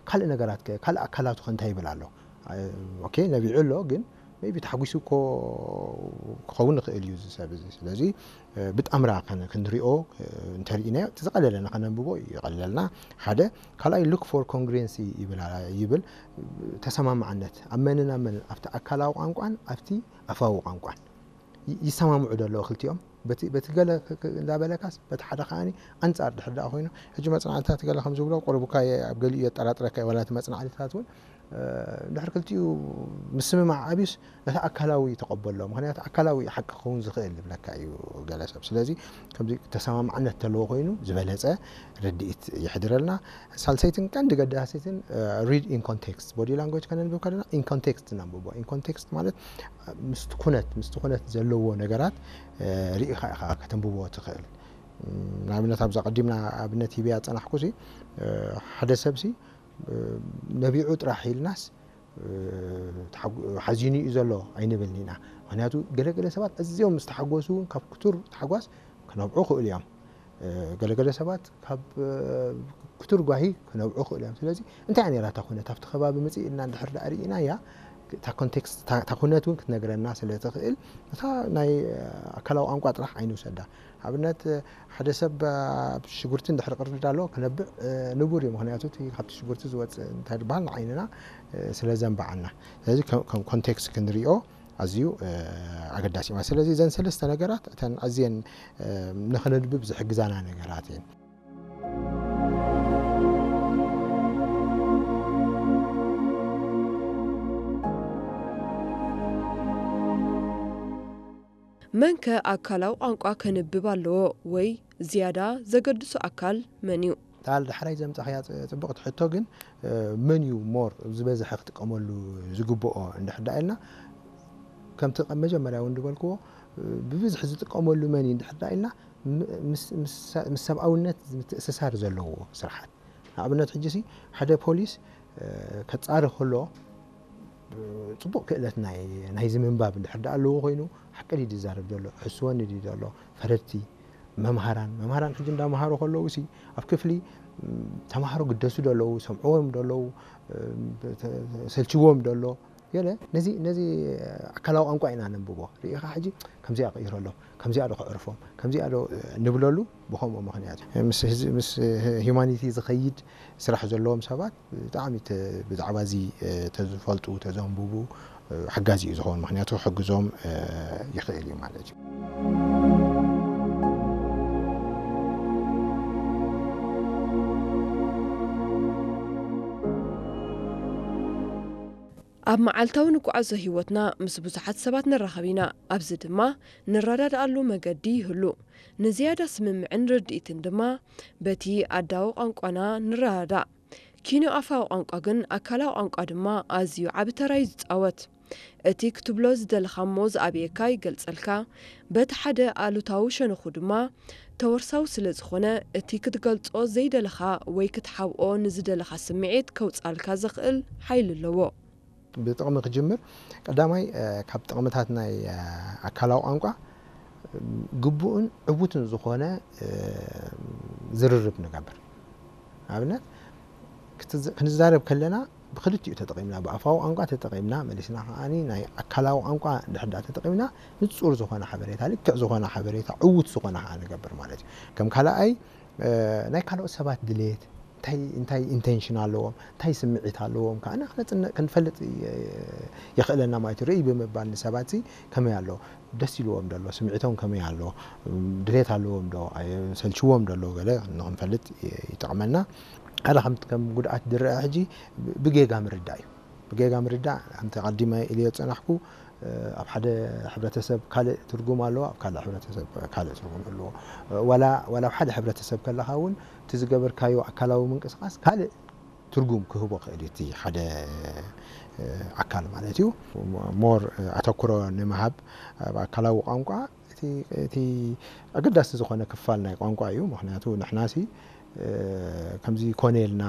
ካልእ ነገራት ከ ካልእ ኣካላቱ ከ እንታይ ይብል ኣሎ? ኦኬ ነቢዑ ኣሎ፣ ግን ሜቢ ተሓጒሱ እኮ ክኸውን ይኽእል እዩ እዚ ሰብ እዚ። ስለዚ ብጣምራ ክንሪኦ እንተርኢናዮ እቲ ዝቐለለና ከነንብቦ ይቐልለልና። ሓደ ካልኣይ look for congruency ይብል። ተሰማማዕነት ኣብ መንን ኣብ መንን ኣብቲ ኣካላዊ ቋንቋን ኣብቲ ኣፋዊ ቋንቋን ይሰማምዑ ዶ ኣለዉ ክልቲኦም? በቲ ገለ እንዳበለካስ በቲ ሓደ ከዓኒ ኣንጻር ድሕር ደኣ ኮይኑ ሕጂ መጽናዕትታት ገለ ከም ዝብሎ ቁርብካ ኣብ ገሊኡ የጠራጥረካ እዩ። ዋላ እቲ መጽናዕትታት እውን ድሕር ክልቲኡ ምስምማዕ ኣብዩስ ነቲ ኣካላዊ ተቐበሎ። ምክንያቱ ኣካላዊ ሓቂ ክኸውን ዝኽእል ይብለካ እዩ ገለ ሰብ። ስለዚ ከምዚ ተሰማማዕነት ተለዎ ኮይኑ ዝበለጸ ርድኢት ይሕድረልና። ሳልሰይትን ቀንዲ ገዳሲትን read in context፣ body language ከነንብብ ከለና in context ነንብቦ። In context ማለት ምስቲ ኩነት ምስቲ ኩነት ዘለዎ ነገራት ርኢኻ ኢኻ ከተንብቦ ትኽእል። ንኣብነት ኣብዛ ቀዲምና ኣብነት ሂበያ ዝጸናሕኩ ሲ ሓደ ሰብ ሲ ነቢዑ ጥራሕ ኢልናስ ሓዚኑ እዩ ዘሎ ኣይንብልን ኢና። ምክንያቱ ገለገለ ሰባት ኣዝዮም ምስ ተሓጎሱ እውን ካብ ክቱር ታሕጓስ ክነብዑ ይኽእሉ እዮም። ገለገለ ሰባት ካብ ክቱር ጓሂ ክነብዑ ይኽእሉ እዮም። ስለዚ እንታይ እያ ነይራ እታ ኩነት ኣብቲ ከባቢ ምፅእ ኢልና እንድሕር ደኣ ርኢናያ እታ ኮንቴክስት እታ ኩነት እውን ክትነግረና ስለ ትኽእል እታ ናይ ኣካላዊ ቋንቋ ጥራሕ ኣይንውሰዳ። ኣብነት ሓደ ሰብ ኣብ ሽጉርቲ እንድሕር ቅርድድ ኣሎ ክነብዕ ንቡር እዩ። ምክንያቱ እቲ ካብቲ ሽጉርቲ ዝወፅእ እንታይ ዝበሃል ንዓይንና ስለ ዘንበዓና። ስለዚ ከም ኮንቴክስት ክንሪኦ ኣዝዩ ኣገዳሲ ማለት። ስለዚ እዘን ሰለስተ ነገራት እተን ኣዝየን ንኽነንብብ ዝሕግዛና ነገራት እየን። መንከ ኣካላዊ ቋንቋ ከንብብ ኣለዎ ወይ ዝያዳ ዘገድሶ ኣካል መን እዩ? ታል ዳሕራይ ዘምጻኽያ ጽብቕቲ ሕቶ ግን መን እዩ ሞር ዝበዝሐ ክጥቀመሉ ዝግብኦ እንድሕር ደኣ ኢልና ከምቲ መጀመርያ እውን ዝበልክዎ ብብዝሒ ዝጥቀመሉ መን እዩ እንድሕር ደኣ ኢልና ምስ ሰብኣውነት ምትእስሳር ዘለዎ ስርሓት ንኣብነት ሕጂ ሲ ሓደ ፖሊስ ከጻሪ ከሎ ጽቡቕ ክእለት ናይ ናይዚ ምንባብ እንድሕር ደኣ ኣለዎ ኮይኑ ሓቂ ድዩ ዝዛረብ ዘሎ ሕስወኒ ድዩ ዘሎ ፈረድቲ መምሃራን መምሃራን ሕጂ እንዳመሃሩ ከለዉ ሲ ኣብ ክፍሊ ተማሃሮ ግደሱ ደለዉ ሰምዕዎም ደለዉ ሰልችዎም ደሎ ገለ ነዚ ነዚ ኣካላዊ ቋንቋ ኢና ነንብቦ ርኢኻ ሕጂ ከምዚኣ ቀይረሎም ከምዚኣ ዶ ክዕርፎም ከምዚኣ ዶ ንብለሉ ብኸምኡ ምኽንያት ምስ ሂማኒቲ ዝኸይድ ስራሕ ዘለዎም ሰባት ብጣዕሚ ብዛዕባ እዚ ተዝፈልጡ ተዘንብቡ ሓጋዚ እዩ ዝኸውን ምክንያቱ ክሕግዞም ይኽእል እዩ ማለት እዩ። ኣብ መዓልታዊ ንጓዓዞ ህይወትና ምስ ብዙሓት ሰባት ንራኸብ ኢና። ኣብዚ ድማ ንረዳድኣሉ መገዲ ይህሉ። ንዝያዳ ስምምዕን ርድኢትን ድማ በቲ ኣዳዊ ቋንቋና ንረዳዳእ። ኪኖ ኣፋዊ ቋንቋ ግን ኣካላዊ ቋንቋ ድማ ኣዝዩ ዓቢ ተራ እዩ ዝጻወት። እቲ ክትብሎ ዝደለኻ እሞ ዝኣብየካ ይገልጸልካ። በቲ ሓደ ኣሉታዊ ሸነኹ ድማ ተወርሳዊ ስለ ዝኾነ እቲ ክትገልጾ ዘይደለኻ ወይ ክትሓብኦ ንዝደለኻ ስምዒት ከውጻልካ ዘኽእል ሓይሊ ኣለዎ። ብጥቕሚ ክጅምር ቀዳማይ ካብ ጥቕምታት ናይ ኣካላዊ ቋንቋ ግቡእን ዕዉትን ዝኾነ ዝርርብ ንገብር ኣብነት ክንዛረብ ከለና ብክልቲኡ ተጠቒምና ብኣፋዊ ቋንቋ ተጠቒምና መሊስና ከዓኒ ናይ ኣካላዊ ቋንቋ እንድሕር ዳኣ ተጠቒምና ንጹር ዝኾነ ሓበሬታ ልክዕ ዝኾነ ሓበሬታ ዕዉት ዝኾነ ከዓ ንገብር ማለት እዩ ከም ካልኣይ ናይ ካልኦት ሰባት ድሌት እንታይ እንታይ ኢንቴንሽን ኣለዎም እንታይ ስምዒት ኣለዎም ከዓ ክንፈልጥ የኽእለና ማለት እዩ ርእይ ብምባል ንሰባት ከመይ ኣሎ ደስ ኢልዎም ደሎ ስምዒቶም ከመይ ኣሎ ድሌት ኣለዎም ዶ ሰልችዎም ደሎ ገለ ንክንፈልጥ ይጠቕመና ሓደ ከም ጉድኣት ዝረአ ሕጂ ብጌጋ ምርዳእ እዩ ብጌጋ ምርዳእ ከምቲ ቀዲመ ኢልዮ ዝጸናሕኩ ኣብ ሓደ ሕብረተሰብ ካልእ ትርጉም ኣለዎ ኣብ ካልእ ሕብረተሰብ ካልእ ትርጉም ኣለዎ ዋላ ዋላ ኣብ ሓደ ሕብረተሰብ ከለኻ እውን እቲ ዝገበርካዮ ኣካላዊ ምንቅስቃስ ካልእ ትርጉም ክህቦ ክእል እቲ ሓደ ኣካል ማለት እዩ ሞር ኣተኩሮ ንምሃብ ኣብ ኣካላዊ ቋንቋ እቲ ኣገዳሲ ዝኾነ ክፋል ናይ ቋንቋ እዩ ምክንያቱ ንሕናሲ ከምዚ ኮነ ኢልና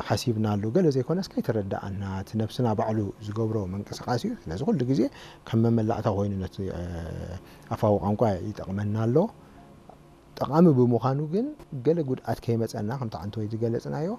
ሓሲብናሉ ገለ ዘይኮነስ ከይተረዳኣና እቲ ነብስና ባዕሉ ዝገብሮ ምንቅስቃስ እዩ ስለዚ ኩሉ ግዜ ከም መመላእታ ኮይኑ ነቲ ኣፋዊ ቋንቋ ይጠቕመና ኣሎ ጠቓሚ ብምዃኑ ግን ገለ ጉድኣት ከይመፀና ከምቲ ዓንተወይ ዝገለፅናዮ